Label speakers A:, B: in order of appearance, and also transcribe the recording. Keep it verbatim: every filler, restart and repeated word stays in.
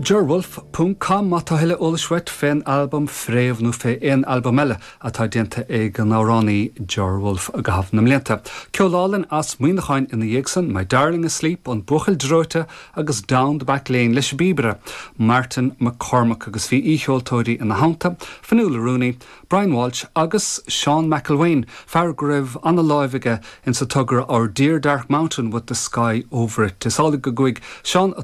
A: Jerwolf ponc com má tá tuilleadh eolais uait fén albam Fréamh nó fé aon albam eile atá déanta ag an amhránaí Ger Wolfe i gcaitheamh na mblianta. Ceol álainn as Muineachán ina dhiaidh san, My Darling Asleep an Buachaill Dreoite agus Down the Back Lane leis an bpíobaire, Martin McCormack agus bhí aoicheoltóirí ina theannta, Fionnuala Rooney, Brian Walsh agus Seán McElwain, fear go raibh an-lámh aige in sa togra Our Dear Dark Mountain with the Sky Over It. Is amhlaidh go gcuaigh Seán a